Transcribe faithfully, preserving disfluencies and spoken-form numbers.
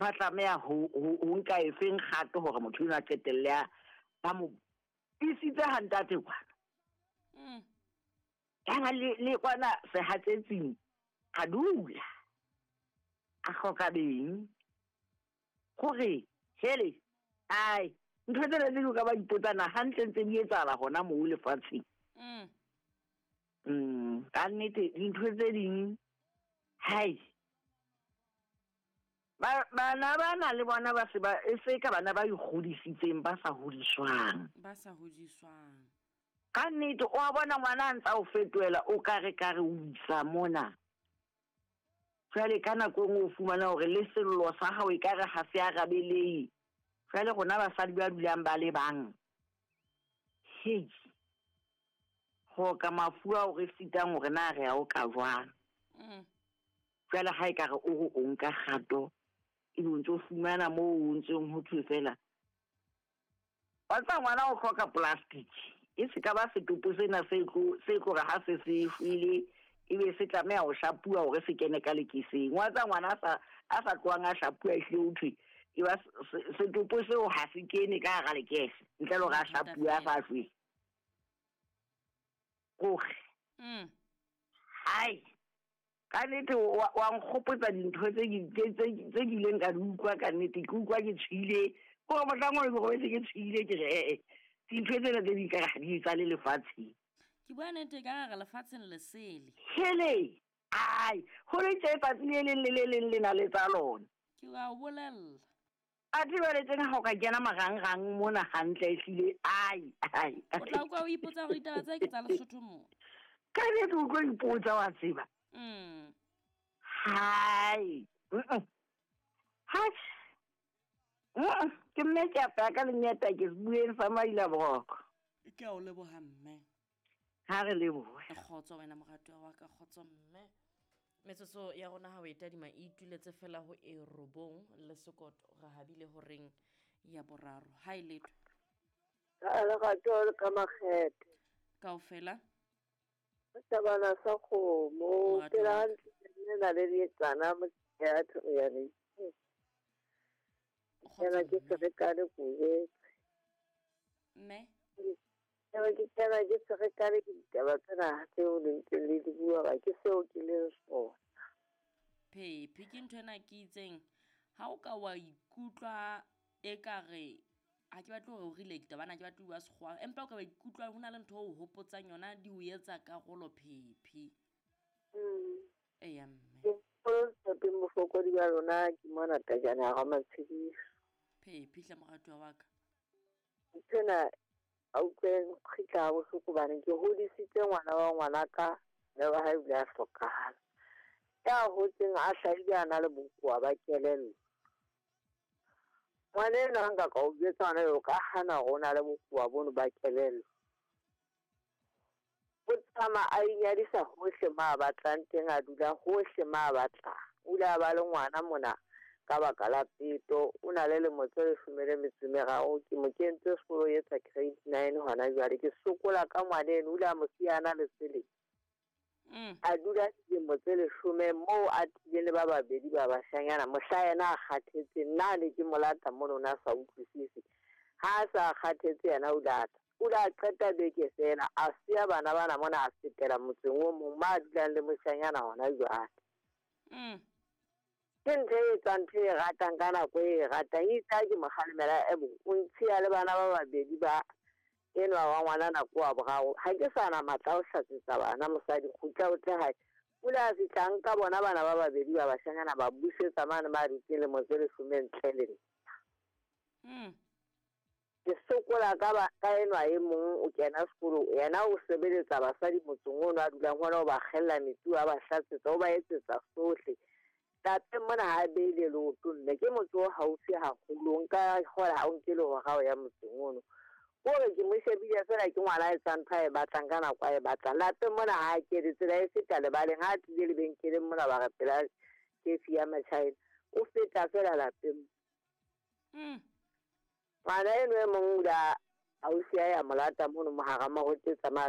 Ba tlameha ho ho ho nka efeng kgato hore motho enwa a qetelle a ba mo isitse ha ntate kwana. Mm. Kana le le kwana sehatsetsing a dula. A hloka beng. Hore hele ai ntho tsena tse ding o ka ba ipotsa na hantle ntse di etsahala hona moo lefatsheng. Mm. Mm, ka nnete dintho tse ding hai. Ba bana bana le bona ba se ba e se ka bana ba ikgodisitseng ba sa hodiswang. Ba sa hodiswang. Ka nnete o a bona ngwana a ntsa o fetohela o ka re ka re o isa mona. Jwale ka nako e nngwe o fumana hore le sello sa hao ekare ha se arabelehe. Jwale rona basadi ba dulang ba le bang. Hei. Ho ka mafu ao re sitang hore na re a o ka jwang. Mm. Jwale ha ekare o re o nka kgato, ebe o ntso fumana moo o ntseng ho thwe fela. Wa tseba ngwana o hloka plastic. E se ka ba setopo sena se tlo se tlo re ha se se shwele ebe se tlameha ho shapuwa hore se kene ka lekeseng. Wa tseba ngwana a sa a sa tlohang a shapuwa ehlile ho thwe e ba setopo seo ha se kene ka hara lekese ntle le hore a shapuwe a sa shwele. Hore. Mm. Hai. Ka nnete wa wa nkgopotsa dintho tse tse tse tse ke ileng ka di utlwa ka nnete ke utlwa ke tshohile. Hore mohlang oo ke robetse ke tshohile ke re eh eh dintho tsena tse ding ekare ha di etsahale lefatsheng. Ke bua nnete ka hare lefatsheng le sele. Hele! Ai, ho le tje tsatsi le leng le le leng le na le tsa lona. Ke wa o bolella. Athe jwale tjena ha o ka kena marangrang mona hantle ehlile ai ai. O tla utlwa o ipotsa hore ditaba tse ke tsa Lesotho mo. Ka nnete o tlo ipotsa wa tseba. Mm. Hai. Mm. Hai. Mm. Ke mme ke apaya ka lenyata ke se bueng sa maila boroko. Ke a o leboha mme. Ha re lebohe. Kgotso wena moratuwa wa ka, kgotso mme. Metsotso ya rona ha o e tadima e ituletse fela ho e robong le sekoto re habile horeng ya boraro. Ha e letho. Ha lerato le ka makgethe. Kaofela. Tabana sa kgomo, Moratuwa ke la wa ka. hantle le na le dietsana mo ya ya le. Kgotso Kena ke mme. ferekane ko jwetse. Mme. Kena ke kena ke ferekane ke ditaba tsena tseo le ntseng le di bua ba ke seo ke leng sona. Phephi ke ntho ena ke itseng ha o ka wa ikutlwa ekare ha ke batle hore o relate bana ke batle ho bua sekgowa empa o ka wa ikutlwa ho na le ntho o hopotsang yona di o etsa karolo Phephi. Mm. Eya mme. Ke mofokodi wa lona ke mona tajana ha Matshediso. Phephi hle moratuwa wa ka. Nthwena a utlwe kgitla ha bohloko hobane ke hodisitse ngwana wa ngwanaka mme wa hae o ile a hlokahala. Ya hotseng a hlahile a na le bokowa ba kelello. Ngwana enwa ha nka ka o jwetsa hona jwale o ka hana hore o na le bokowa bono ba kelello. O tsamaya a inyadisa hohle mo a batlang teng, a dula hohle mo a batlang. O ile a ba le ngwana mona ka baka la peto. O na le lemo tse leshome le metso e meraro. Ke mo kentse sekolo o etsa grade nine hona jwale. Ke sokola ka ngwana eno, o ile a mo siya a na le selemo. Mm. A dula dilemo tse leshome moo a tlileng le ba babedi ba bashanyana. Mohla yena a kgathetse, nna ne ke mo lata mono o ne a sa utlwisise. Ha a sa kgathetse yena o lata. O ile a qeta beke fela, a siya bana bana mona a fetela motseng o mong mo a dulang le moshanyana hona jwale. Mm. Ke ntho e etsang ntho e ratang ka nako e ratang. Itse ha ke mo kgalemela, ebo o ntshiya le bana ba babedi ba enwa wa ngwana nako wa boraro. Ha ke sa na matla a ho hlatsetsa bana mosadi kgutla o tle hae. O ile a fihla a nka bona bana ba babedi ba bashanyana ba busetsa mane ba dutseng lemo tse leshome ntle le nna. Mm. Ke sokola ka ba ka enwa e mong o kena sekolo, yena o sebeletsa basadi motseng ono a dulang hona, o ba kgella metsi, a ba hlatsetsa, o ba etsetsa sohle. Lapeng mona ha a beile leoto mme ke motse o haufi haholo, nka kgola ha o nke le hora ho ya motseng ono. Kore ke mo shebile fela ke ngwana a etsang ntho a e batlang ka nako a e batlang. Lapeng mona ha a kene, tsela e feta lebaleng, ha a tlile lebenkeleng mona ba re pela kefi ya Machina, o feta fela lapeng. Mm. Ngwana eno e mong o ile a ausi a ya mo lata mono mohara marote tsamaya le